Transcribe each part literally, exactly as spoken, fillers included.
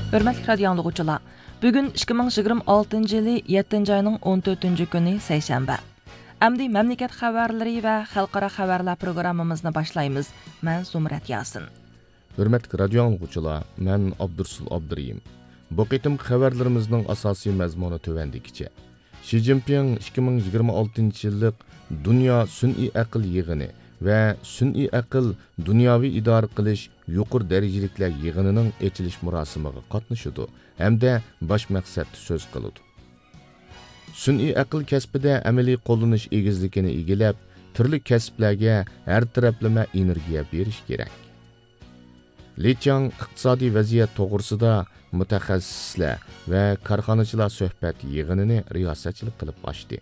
ھۆرمەتلىك رادىيو ئاڭلىغۇچىلار، بۈگۈن ئىككى مىڭ يىگىرمە ئالتىنچى يىلى يەتتىنچى ئاينىڭ ئون تۆتىنچى كۈنى، سەيشەنبە. ئەمدى مەملىكەت خەۋەرلىرى ۋە خەلقئارا خەۋەرلەر پروگراممىمىزنى باشلايمىز. مەن زۇمرەت ياسىن. ھۆرمەتلىك رادىيو ئاڭلىغۇچىلار، مەن ئابدۇرسۇل ئابدۇرېھىم. بۇ قېتىمقى خەۋەرلىرىمىزنىڭ ئاساسىي مەزمۇنى تۆۋەندىكىچە. شى جىنپىڭ ئىككى مىڭ يىگىرمە ئالتىنچى يىللىق دۇنيا سۈنئىي ئەقىل يىغىنى ۋە سۈنئىي ئەقىل دۇنياۋى ئىدارە قىلىش يۇقىرى دەرىجىلىكلەر يىغىنىنىڭ ئېچىلىش مۇراسىمىغا قاتنىشىدۇ ھەمدە باش مەقسەتتە سۆز قىلىدۇ. سۈنئىي ئەقىل كەسپىدە ئەمەلىي قوللىنىش ئېگىزلىكىنى ئىگىلەپ، تۈرلۈك كەسىپلەرگە ھەر تەرەپلىمە ئېنېرگىيە بېرىش كېرەك. لى چاڭ ئىقتىسادىي ۋەزىيەت توغرىسىدا مۇتەخەسسىسلەر ۋە كارخانىچىلار سۆھبەت يىغىنىنى رىياسەتچىلىك قىلىپ ئاچتى.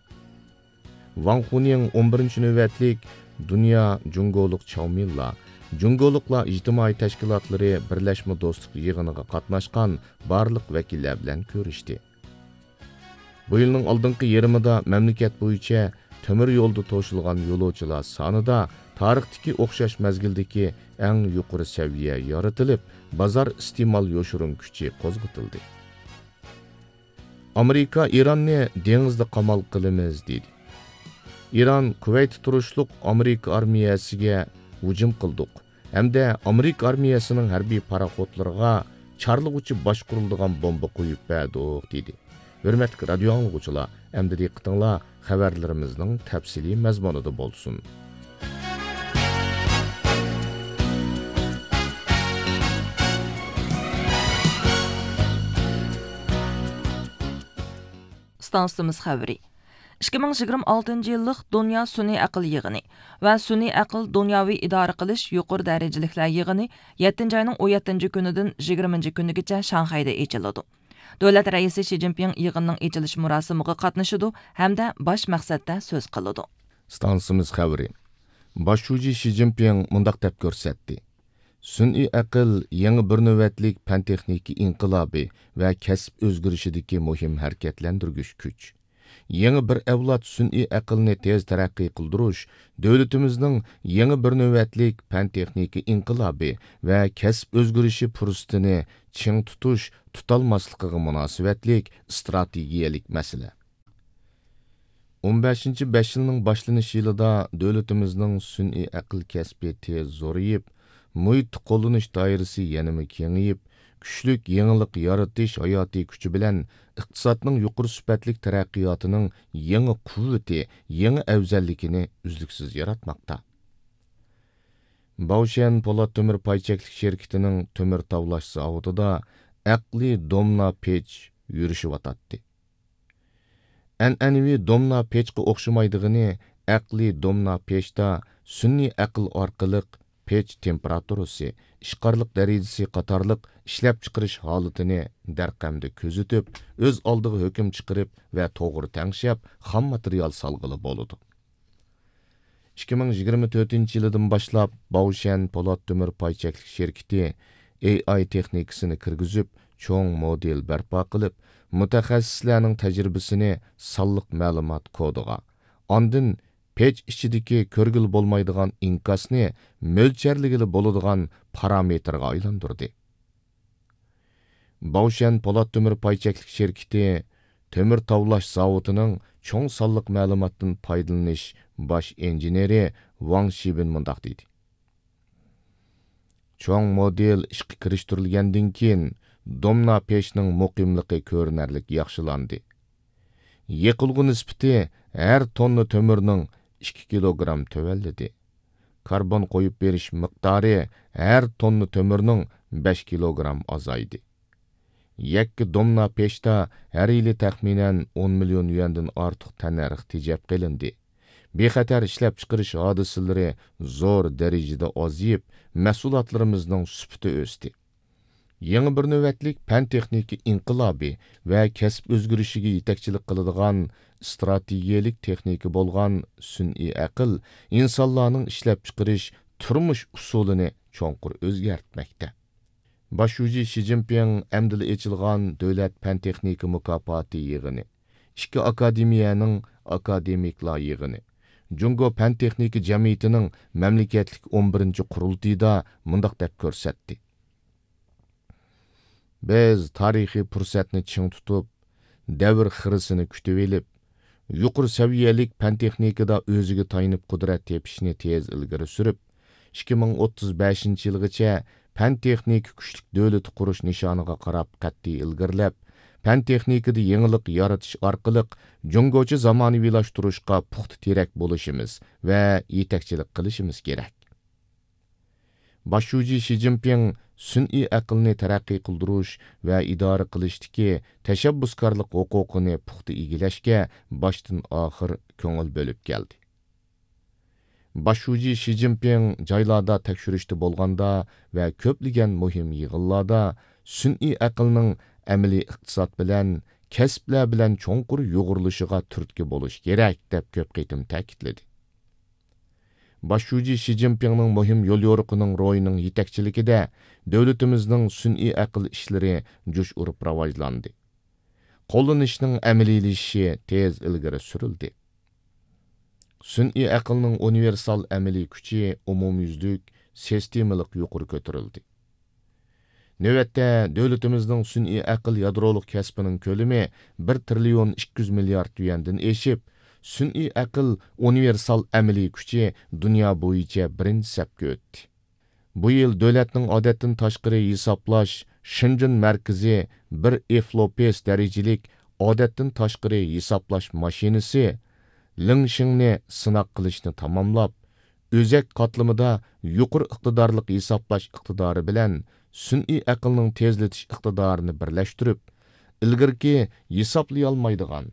ۋاڭ خۇنىڭ ئون بىرىنچى نۆۋەتلىك دۇنيا جۇڭگولۇق چاۋمىنلار، جۇڭگولۇقلار ئىجتىمائىي تەشكىلاتلىرى بىرلەشمە دوستلۇق يىغىنىغا قاتناشقان بارلىق ۋەكىللەر بىلەن كۆرۈشتى. بۇ يىلنىڭ ئالدىنقى يېرىمىدا مەملىكەت بويىچە تۆمۈر يولدا توشۇلغان يولۇچىلار سانىدا تارىختىكى ئوخشاش مەزگىلدىكى ئەڭ يۇقىرى سەۋىيە يارىتىلىپ، بازار ئىستېمال يوشۇرۇن كۈچى قوزغىتىلدى. ئامېرىكا ئىراننى دېڭىزدا قامال قىلىمىز، دېدى. ئىران كۇۋەيتتە تۇرۇشلۇق ئامېرىكا ئارمىيەسىگە ھۇجۇم قىلدۇق ھەمدە ئامېرىكا ئارمىيەسىنىڭ ھەربىي پاراخوتلىرىغا چارلىغۇچى باشقۇرۇلىدىغان بومبا قويۇپ بەردۇق، دېدى. ھۆرمەتلىك رادىيو ئاڭلىغۇچىلار، ئەمدى دىققىتىڭلار خەۋەرلىرىمىزنىڭ تەپسىلىي مەزمۇنىدا بولسۇن. ئىستانسىمىز خەۋىرى. ئىككى مىڭ يىگىرمە ئالتىنچى يىللىق دۇنيا سۈنئىي ئەقىل يىغىنى ۋە سۈنئىي ئەقىل دۇنياۋى ئىدارە قىلىش يۇقىرى دەرىجىلىكلەر يىغىنى يەتتىنچى ئاينىڭ ئون يەتتىنچى كۈنىدىن يىگىرمىنچى كۈنىگىچە شاڭخەيدە ئېچىلىدۇ. دۆلەت رەئىسى شى جىنپىڭ يىغىننىڭ ئېچىلىش مۇراسىمىغا قاتنىشىدۇ ھەمدە باش مەقسەتتە سۆز قىلىدۇ. ئىستانسىمىز خەۋىرى. باش شۇجى شى جىنپىڭ مۇنداق دەپ كۆرسەتتى: سۈنئىي ئەقىل يېڭى بىر نۆۋەتلىك پەن-تېخنىكا ئىنقىلابى ۋە كەسىپ ئۆزگىرىشىدىكى مۇھىم ھەرىكەتلەندۈرگۈچ كۈچ. يېڭى بىر ئەۋلاد سۈنئىي ئەقىلنى تېز تەرەققىي قىلدۇرۇش، دۆلىتىمىزنىڭ يېڭى بىر نۆۋەتلىك پەن-تېخنىكا ئىنقىلابى ۋە كەسىپ ئۆزگىرىشى پۇرسىتىنى چىڭ تۇتۇش، تۇتالماسلىقىغا مۇناسىۋەتلىك ئىستراتېگىيەلىك مەسىلە. ئون بەشىنچى بەش يىلنىڭ باشلىنىش يىلىدا دۆلىتىمىزنىڭ سۈنئىي ئەقىل كەسپى تېز زورىيىپ، مۇھىتنى قوللىنىش دائىرىسى يەنىمۇ كېڭىيىپ، كۈچلۈك يېڭىلىق يارىتىش ھاياتىي كۈچى بىلەن ئىقتىسادنىڭ يۇقىرى سۈپەتلىك تەرەققىياتىنىڭ يېڭى قۇۋۋىتى، يېڭى ئەۋزەللىكىنى ئۈزلۈكسىز ياراتماقتا. باۋشيەن پولات تۆمۈر پاي چەكلىك شىركىتىنىڭ تۆمۈر تاۋلاش زاۋۇتىدا ئەقلىي دومنا پېچ يۈرۈشۈۋاتاتتى. ئەنئەنىۋى دومنا پېچقا ئوخشىمايدىغىنى، ئەقلىي دومنا پېچتا سۈنئىي ئەقىل ئارقىلىق پېچ تېمپېراتۇرىسى، ئىشقارلىق دەرىجىسى قاتارلىق ئىشلەپچىقىرىش ھالىتىنى دەرقەمدە كۆزىتىپ، ئۆز ئالدىغا ھۆكۈم چىقىرىپ ۋە توغرا تەڭشەپ، خام ماتېرىيال سالغىلى بولىدۇ. ئىككى مىڭ يىگىرمە تۆتىنچى يىلىدىن باشلاپ، باۋشيەن پولات تۆمۈر پاي چەكلىك شىركىتى ئېي ئاي تېخنىكىسىنى كىرگۈزۈپ، چوڭ مودېل بەرپا قىلىپ، مۇتەخەسسىسلەرنىڭ تەجرىبىسىنى سانلىق مەلۇمات كودىغا، ئاندىن پېچ ئىچىدىكى كۆرگىلى بولمايدىغان ئىنكاسنى مۆلچەرلىگىلى بولىدىغان پارامېتىرغا ئايلاندۇردى. باۋشيەن پولات تۆمۈر پاي چەكلىك شىركىتى تۆمۈر تاۋلاش زاۋۇتىنىڭ چوڭ سانلىق مەلۇماتتىن پايدىلىنىش باش ئىنژېنېرى ۋاڭ شىبىن مۇنداق دېدى: چوڭ مودېل ئىشقا كىرىشتۈرۈلگەندىن كېيىن، دومنا پېچنىڭ مۇقىملىقى كۆرۈنەرلىك ياخشىلاندى. يېقىلغۇ نىسبىتى ھەر توننا تۆمۈرنىڭ ئىككى كىلوگرام تۆۋەنلىدى. كاربون قويۇپ بېرىش مىقدارى ھەر توننا تۆمۈرنىڭ بەش كىلوگرام ئازايدى. يەككە دومنا پېچتا ھەر يىلى تەخمىنەن ئون مىليون يۈەندىن ئارتۇق تەننەرخ تېجەپ قېلىندى. بىخەتەر ئىشلەپچىقىرىش ھادىسىلىرى زور دەرىجىدە ئازىيىپ، مەھسۇلاتلىرىمىزنىڭ سۈپىتى ئۆستى. يېڭى بىر نۆۋەتلىك پەن-تېخنىكا ئىنقىلابى ۋە كەسىپ ئۆزگىرىشىگە يېتەكچىلىك قىلىدىغان ئىستراتېگىيەلىك تېخنىكا بولغان سۈنئىي ئەقىل ئىنسانلارنىڭ ئىشلەپچىقىرىش، تۇرمۇش ئۇسۇلىنى چوڭقۇر ئۆزگەرتمەكتە. باش شۇجى شى جىنپىڭ ئەمدىلا ئېچىلغان دۆلەت پەن-تېخنىكا مۇكاپاتى يىغىنى، ئىككى ئاكادېمىيەنىڭ ئاكادېمىكلار يىغىنى، جۇڭگو پەن-تېخنىكا جەمئىيىتىنىڭ مەملىكەتلىك ئون بىرىنچى قۇرۇلتىيىدا مۇنداق دەپ كۆرسەتتى: بىز تارىخىي پۇرسەتنى چىڭ تۇتۇپ، دەۋر خىرىسىنى كۈتۈۋېلىپ، يۇقىرى سەۋىيەلىك پەن-تېخنىكىدا ئۆزىگە تايىنىپ قۇدرەت تېپىشنى تېز ئىلگىرى سۈرۈپ، ئىككى مىڭ ئوتتۇز بەشىنچى يىلغىچە پەن-تېخنىكا كۈچلۈك دۆلىتى قۇرۇش نىشانىغا قاراپ قەتئىي ئىلگىرىلەپ، پەن-تېخنىكىدا يېڭىلىق يارىتىش ئارقىلىق جۇڭگوچە زامانىۋىلاشتۇرۇشقا پۇختا تىرەك بولۇشىمىز ۋە يېتەكچىلىك قىلىشىمىز كېرەك. باش شۇجى شى جىنپىڭ سۈنئىي ئەقىلنى تەرەققىي قىلدۇرۇش ۋە ئىدارە قىلىشتىكى تەشەببۇسكارلىق ھوقۇقىنى پۇختا ئىگىلەشكە باشتىن ئاخىر كۆڭۈل بۆلۈپ كەلدى. باش شۇجى شى جىنپىڭ جايلاردا تەكشۈرۈشتە بولغاندا ۋە كۆپلىگەن مۇھىم يىغىنلاردا سۈنئىي ئەقىلنىڭ ئەمەلىي ئىقتىساد بىلەن، كەسىپلەر بىلەن چوڭقۇر يۇغۇرۇلۇشىغا تۈرتكە بولۇش كېرەك، دەپ كۆپ قېتىم تەكىتلىدى. باش شۇجى شى جىنپىڭنىڭ مۇھىم يوليورۇقىنىڭ روھىنىڭ يېتەكچىلىكىدە دۆلىتىمىزنىڭ سۈنئىي ئەقىل ئىشلىرى جۇش ئۇرۇپ راۋاجلاندى. قوللىنىشنىڭ ئەمەلىيلىشىشى تېز ئىلگىرى سۈرۈلدى. سۈنئىي ئەقىلنىڭ ئۇنىۋېرسال ئەمەلىي كۈچى ئومۇميۈزلۈك، سىستېمىلىق يۇقىرى كۆتۈرۈلدى. نۆۋەتتە، دۆلىتىمىزنىڭ سۈنئىي ئەقىل يادرولۇق كەسپىنىڭ كۆلىمى بىر تىرىليون ئىككى يۈز مىليارد يۈەندىن ئېشىپ، سۈنئىي ئەقىل ئۇنىۋېرسال ئەمەلىي كۈچى دۇنيا بويىچە بىرىنچى سەپكە ئۆتتى. بۇ يىل دۆلەتنىڭ ئادەتتىن تاشقىرى ھېسابلاش شېنجېن مەركىزى بىر ئېفلوپېس دەرىجىلىك ئادەتتىن تاشقىرى ھېسابلاش ماشىنىسى لىڭشىڭنى سىناق قىلىشنى تاماملاپ، ئۆزەك قاتلىمىدا يۇقىرى ئىقتىدارلىق ھېسابلاش ئىقتىدارى بىلەن سۈنئىي ئەقىلنىڭ تېزلىتىش ئىقتىدارىنى بىرلەشتۈرۈپ، ئىلگىرىكى ھېسابلىيالمايدىغان،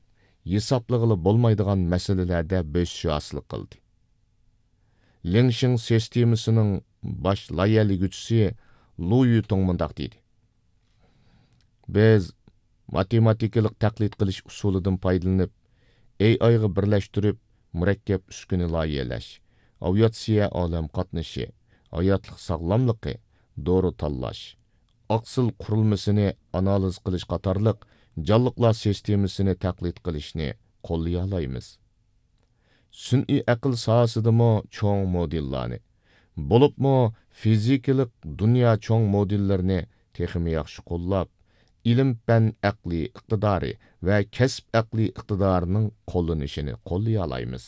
ھېسابلىغىلى بولمايدىغان مەسىلىلەردە بۆسۈش ھاسىل قىلدى. لىڭشىڭ سىستېمىسىنىڭ باش لايىھەلىگۈچىسى لۇ يۈتۇڭ مۇنداق دېدى: بىز ماتېماتىكىلىق تەقلىد قىلىش ئۇسۇلىدىن پايدىلىنىپ، ئېي ئايغا بىرلەشتۈرۈپ، مۇرەككەپ ئۈسكۈنە لايىھەلەش، ئاۋىئاتسىيە ئالەم قاتنىشى، ھاياتلىق ساغلاملىقى، دورا تاللاش، ئاقسىل قۇرۇلمىسىنى ئانالىز قىلىش قاتارلىق جانلىقلار سىستېمىسىنى تەقلىد قىلىشنى قوللىيالايمىز. سۈنئىي ئەقىل ساھەسىدىمۇ چوڭ مودېللارنى، بولۇپمۇ فىزىكىلىق دۇنيا چوڭ مودېللىرىنى تېخىمۇ ياخشى قوللاپ، ئىلىم-پەن ئەقلىي ئىقتىدارى ۋە كەسىپ ئەقلىي ئىقتىدارىنىڭ قوللىنىشىنى قوللىيالايمىز.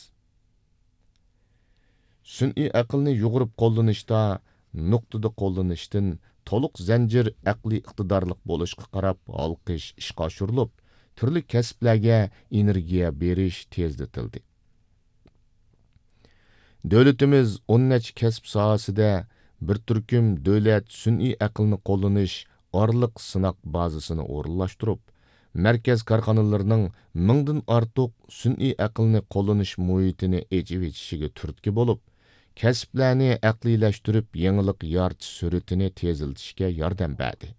سۈنئىي ئەقىلنى يۇغۇرۇپ قوللىنىشتا نۇقتىدا قوللىنىشتىن تولۇق زەنجىر ئەقلىي ئىقتىدارلىق بولۇشقا قاراپ ھالقىش ئىشقا ئاشۇرۇلۇپ، تۈرلۈك كەسىپلەرگە ئېنېرگىيە بېرىش تېزلىتىلدى. دۆلىتىمىز ئون نەچچە كەسىپ ساھەسىدە بىر تۈركۈم دۆلەت سۈنئىي ئەقىلنى قوللىنىش ئارىلىق سىناق بازىسىنى ئورۇنلاشتۇرۇپ، مەركەز كارخانىلىرىنىڭ مىڭدىن ئارتۇق سۈنئىي ئەقىلنى قوللىنىش مۇھىتىنى ئېچىۋېتىشىگە تۈرتكە بولۇپ، كەسىپلەرنى ئەقلىيلەشتۈرۈپ، يېڭىلىق يارىتىش سۈرئىتىنى تېزلىتىشكە ياردەم بەردى.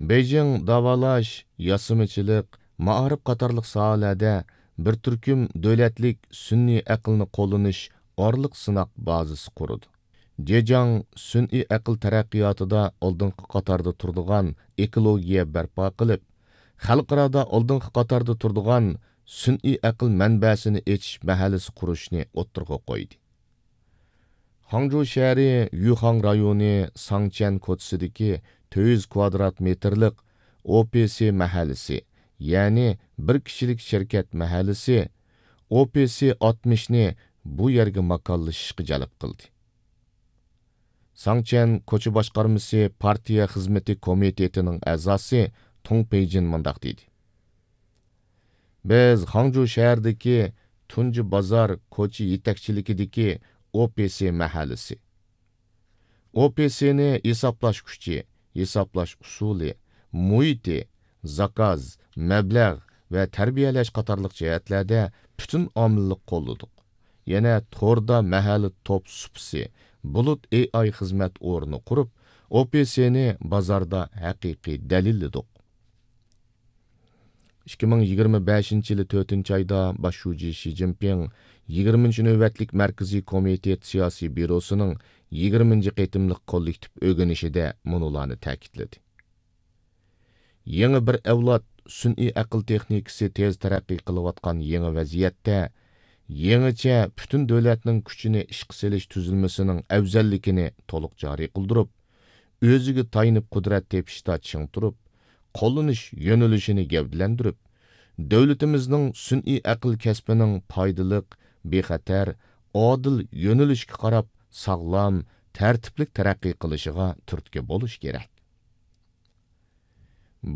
بېيجىڭ داۋالاش، ياسىمىچىلىق، مائارىپ قاتارلىق ساھەلەردە بىر تۈركۈم دۆلەتلىك سۈنئىي ئەقىلنى قوللىنىش ئارىلىق سىناق بازىسى قۇرىدۇ. جېجياڭ سۈنئىي ئەقىل تەرەققىياتىدا ئالدىنقى قاتاردا تۇرىدىغان ئېكولوگىيە بەرپا قىلىپ، خەلقئارادا ئالدىنقى قاتاردا تۇرىدىغان سۈنئىي ئەقىل مەنبەسىنى ئېچىش مەھەللىسى قۇرۇشنى ئوتتۇرىغا قويدى. خاڭجۇ شەھىرى يۈخاڭ رايونى ساڭچيەن كوچىسىدىكى تۆت يۈز كۋادرات مېتىرلىق ئو پى سى مەھەللىسى، يەنى بىر كىشىلىك شىركەت مەھەللىسى، ئو پى سى ئاتمىشنى بۇ يەرگە ماكانلىشىشقا جەلپ قىلدى. ساڭچيەن كوچا باشقارمىسى پارتىيە خىزمىتى كومىتېتىنىڭ ئەزاسى تۇڭ پېيجىن مۇنداق دېدى: بىز خاڭجۇ شەھىرىدىكى تۇنجى بازار كوچا يېتەكچىلىكىدىكى ئو پى سى مەھەللىسى. ئو پى سىنى ھېسابلاش كۈچى، ھېسابلاش ئۇسۇلى، مۇھىتى، زاكاز، مەبلەغ ۋە تەربىيەلەش قاتارلىق جەھەتلەردە پۈتۈن ئامىللىق قوللىدۇق. يەنە توردا مەھەللە توپ سۇپىسى، بۇلۇت ئېي ئاي خىزمەت ئورنى قۇرۇپ، ئو پى سىنى بازاردا ھەقىقىي دەلىللىدۇق. ئىككى مىڭ يىگىرمە بەشىنچى يىلى تۆتىنچى ئايدا باش شۇجى شى جىنپىڭ يىگىرمىنچى نۆۋەتلىك مەركىزىي كومىتېت سىياسىي بيۇروسىنىڭ يىگىرمىنچى قېتىملىق كوللېكتىپ ئۆگىنىشىدە مۇنۇلارنى تەكىتلىدى: يېڭى بىر ئەۋلاد سۈنئىي ئەقىل تېخنىكىسى تېز تەرەققىي قىلىۋاتقان يېڭى ۋەزىيەتتە، يېڭىچە پۈتۈن دۆلەتنىڭ كۈچىنى ئىشقا سېلىش تۈزۈلمىسىنىڭ ئەۋزەللىكىنى تولۇق جارى قىلدۇرۇپ، ئۆزىگە تايىنىپ قۇدرەت تېپىشتا چىڭ تۇرۇپ، قوللىنىش يۆنىلىشىنى گەۋدىلەندۈرۈپ، دۆلىتىمىزنىڭ سۈنئىي ئەقىل كەسپىنىڭ پايدىلىق، بىخەتەر، ئادىل يۆنىلىشكە قاراپ ساغلام، تەرتىپلىك تەرەققىي قىلىشىغا تۈرتكە بولۇش كېرەك.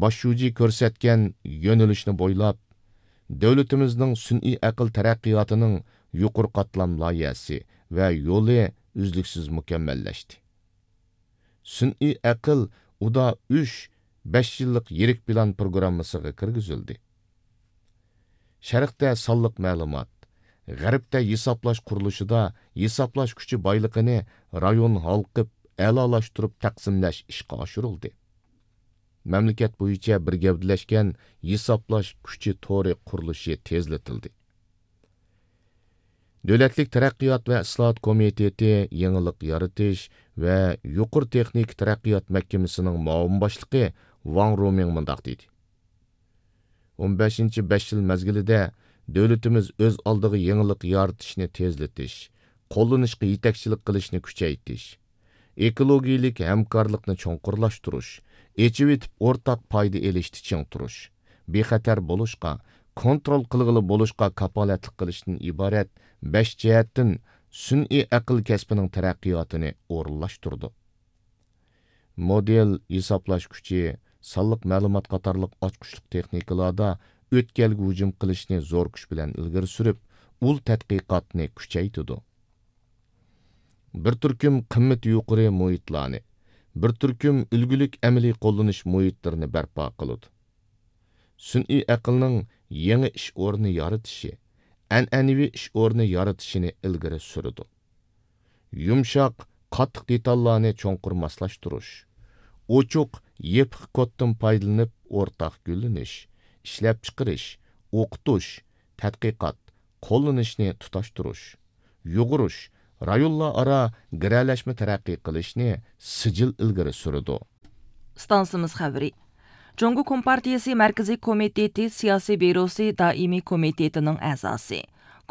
باش شۇجى كۆرسەتكەن يۆنىلىشنى بويلاپ، دۆلىتىمىزنىڭ سۈنئىي ئەقىل تەرەققىياتىنىڭ يۇقىرى قاتلام لايىھەسى ۋە يولى ئۈزلۈكسىز مۇكەممەللەشتى. سۈنئىي ئەقىل ئۇدا ئۈچ بەش يىللىق يىرىك پىلان پروگراممىسىغا كىرگۈزۈلدى. شەرقتە سانلىق مەلۇمات، غەربتە ھېسابلاش قۇرۇلۇشىدا ھېسابلاش كۈچى بايلىقىنى رايون ھالقىپ ئەلالاشتۇرۇپ تەقسىملەش ئىشقا ئاشۇرۇلدى. مەملىكەت بويىچە بىر گەۋدىلەشكەن ھېسابلاش كۈچى تورى قۇرۇلۇشى تېزلىتىلدى. دۆلەتلىك تەرەققىيات ۋە ئىسلاھات كومىتېتى يېڭىلىق يارىتىش ۋە يۇقىرى تېخنىكا تەرەققىيات مەھكىمىسىنىڭ مۇئاۋىن باشلىقى ۋاڭ رومىڭ مۇنداق دېدى: «ئون بەشىنچى بەش يىل مەزگىلىدە دۆلىتىمىز ئۆز ئالدىغا يېڭىلىق يارىتىشنى تېزلىتىش، قوللىنىشقا يېتەكچىلىك قىلىشنى كۈچەيتىش، ئېكولوگىيەلىك ھەمكارلىقنى چوڭقۇرلاشتۇرۇش، ئېچىۋېتىپ ئورتاق پايدا ئېلىشتا چىڭ تۇرۇش، بىخەتەر بولۇشقا، كونترول قىلغىلى بولۇشقا كاپالەتلىك قىلىشتىن ئىبارەت بەش جەھەتتىن سۈنئىي ئەقىل كەسپىنىڭ تەرەققىياتىنى ئورۇنلاشتۇردۇق. مودېل، ھېسابلاش كۈچى، سانلىق مەلۇمات قاتارلىق ئاچقۇچلۇق تېخنىكىلاردا ئۆتكەلگە ھۇجۇم قىلىشنى زور كۈچ بىلەن ئىلگىرى سۈرۈپ، ئۇل تەتقىقاتنى كۈچەيتىدۇ. بىر تۈركۈم قىممىتى يۇقىرى مۇھىتلارنى، بىر تۈركۈم ئۈلگىلىك ئەمەلىي قوللىنىش مۇھىتلىرىنى بەرپا قىلىدۇ. سۈنئىي ئەقىلنىڭ يېڭى ئىش ئورنى يارىتىشى، ئەنئەنىۋى ئىش ئورنى يارىتىشىنى ئىلگىرى سۈرىدۇ. يۇمشاق، قاتتىق دېتاللارنى چوڭقۇر ماسلاشتۇرۇش، ئوچۇق، يېپىق كودتىن پايدىلىنىپ ئورتاق گۈللىنىش، ئىشلەپچىقىرىش، ئوقۇتۇش، تەتقىقات، قوللىنىشنى تۇتاشتۇرۇش، يۇغۇرۇش، رايونلار ئارا گىرەلەشمە تەرەققىي قىلىشنى سىجىل ئىلگىرى سۈرىدۇ. ئىستانسىمىز خەۋىرى. جۇڭگو كومپارتىيىسى مەركىزىي كومىتېتى سىياسىي بيۇروسى دائىمىي كومىتېتىنىڭ ئەزاسى،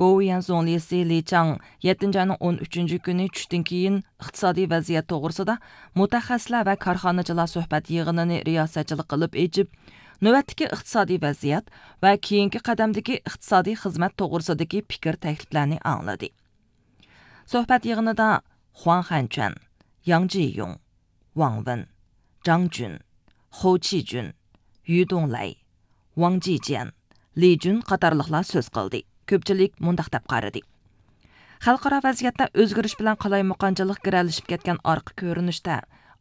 گوۋۇيۈەن زۇڭلىسى لى چاڭ يەتتىنچى ئاينىڭ ئون ئۈچىنچى كۈنى چۈشتىن كېيىن ئىقتىسادىي ۋەزىيەت توغرىسىدا مۇتەخەسسىسلەر ۋە كارخانىچىلار سۆھبەت يىغىنىنى رىياسەتچىلىك قىلىپ ئېچىپ، نۆۋەتتىكى ئىقتىسادىي ۋەزىيەت ۋە كېيىنكى قەدەمدىكى ئىقتىسادىي خىزمەت توغرىسىدىكى پىكىر تەكلىپلەرنى ئاڭلىدى. سۆھبەت يىغىنىدا خۇاڭ خەنچۈەن، ياڭ جىيۇڭ، ۋاڭ ۋېن، جاڭ جۈن، خو چىجۈن، يۈ دۇڭلەي، ۋاڭ جىجيەن، لى جۈن قاتارلىقلار سۆز قىلدى. كۆپچىلىك مۇنداق دەپ قارىدى: خەلقئارا ۋەزىيەتتە ئۆزگىرىش بىلەن قالايمىقانچىلىق گىرەلىشىپ كەتكەن ئارقا كۆرۈنۈشتە،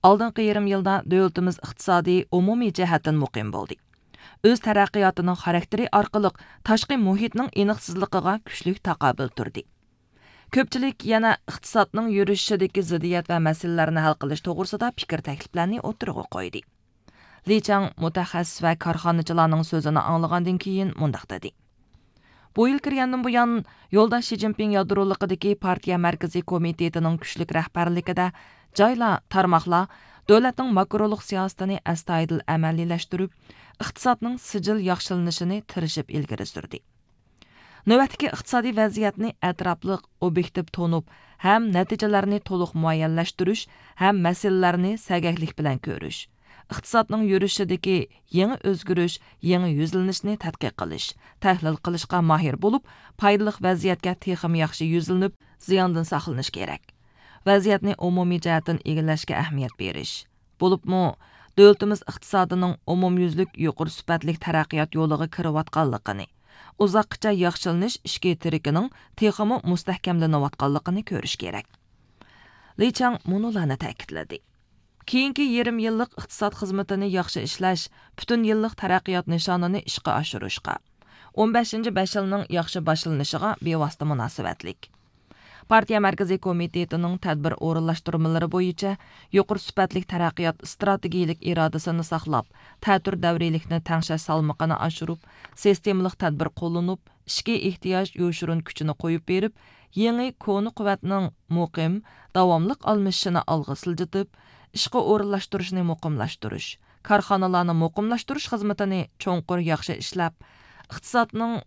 ئالدىنقى يېرىم يىلدا دۆلىتىمىز ئىقتىسادى ئومۇمىي جەھەتتىن مۇقىم بولدى. ئۆز تەرەققىياتىنىڭ خاراكتېرى ئارقىلىق تاشقى مۇھىتنىڭ ئېنىقسىزلىقىغا كۈچلۈك تاقابىل تۇردى. كۆپچىلىك يەنە ئىقتىسادنىڭ يۈرۈشۈشىدىكى زىددىيەت ۋە مەسىلىلەرنى ھەل قىلىش توغرىسىدا پىكىر تەكلىپلەرنى ئوتتۇرىغا قويدى. لى چاڭ مۇتەخەسسىس ۋە كارخانىچىلارنىڭ سۆزىنى ئاڭلىغاندىن كېيىن مۇنداق دېدى: بۇ يىل كىرگەندىن بۇيان، يولداش شى جىنپىڭ يادرولۇقىدىكى پارتىيە مەركىزىي كومىتېتىنىڭ كۈچلۈك رەھبەرلىكىدە جايلار، تارماقلار دۆلەتنىڭ ماكرولۇق سىياسىتىنى ئەستايىدىل ئەمەلىيلەشتۈرۈپ، ئىقتىسادنىڭ سىجىل ياخشىلىنىشىنى تىرىشىپ ئىلگىرى سۈردى. نۆۋەتتىكى ئىقتىسادىي ۋەزىيەتنى ئەتراپلىق، ئوبيېكتىپ تونۇپ ھەم نەتىجىلەرنى تولۇق مۇئەييەنلەشتۈرۈش ھەم مەسىلىلەرنى سەگەكلىك بىلەن كۆرۈش، ئىقتىسادنىڭ يۈرۈشىدىكى يېڭى ئۆزگىرىش، يېڭى يۈزلىنىشنى تەتقىق قىلىش، تەھلىل قىلىشقا ماھىر بولۇپ، پايدىلىق ۋەزىيەتكە تېخىمۇ ياخشى يۈزلىنىپ، زىياندىن ساقلىنىش كېرەك. ۋەزىيەتنى ئومۇمىي جەھەتتىن ئىگىلەشكە ئەھمىيەت بېرىش، بولۇپمۇ دۆلىتىمىز ئىقتىسادىنىڭ ئومۇميۈزلۈك يۇقىرى سۈپەتلىك تەرەققىيات يولىغا كىرىۋاتقانلىقىنى، ئۇزاققىچە ياخشىلىنىش ئىچكى تىرىكىنىڭ تېخىمۇ مۇستەھكەملىنىۋاتقانلىقىنى كۆرۈش كېرەك. لى چاڭ مۇنۇلارنى تەكىتلىدى: كېيىنكى يېرىم يىللىق ئىقتىساد خىزمىتىنى ياخشى ئىشلەش پۈتۈن يىللىق تەرەققىيات نىشانىنى ئىشقا ئاشۇرۇشقا، ئون بەشىنچى بەش يىلنىڭ ياخشى باشلىنىشىغا بىۋاسىتە مۇناسىۋەتلىك. پارتىيە مەركىزىي كومىتېتىنىڭ تەدبىر ئورۇنلاشتۇرمىلىرى بويىچە يۇقىرى سۈپەتلىك تەرەققىيات ئىستراتېگىيەلىك ئىرادىسىنى ساقلاپ، تەتۈر دەۋرىيلىكنى تەڭشەش سالمىقىنى ئاشۇرۇپ، سىستېمىلىق تەدبىر قوللىنىپ، ئىچكى ئېھتىياج يوشۇرۇن كۈچىنى قويۇپ بېرىپ، يېڭى كونا قۇۋۋەتنىڭ مۇقىم، داۋاملىق ئالمىشىشىنى ئالغا سىلجىتىپ، ئىشقا ئورۇنلاشتۇرۇشنى مۇقىملاشتۇرۇش، كارخانىلارنى مۇقىملاشتۇرۇش خىزمىتىنى چوڭقۇر ياخشى ئىشلەپ، ئىقتىسادنىڭ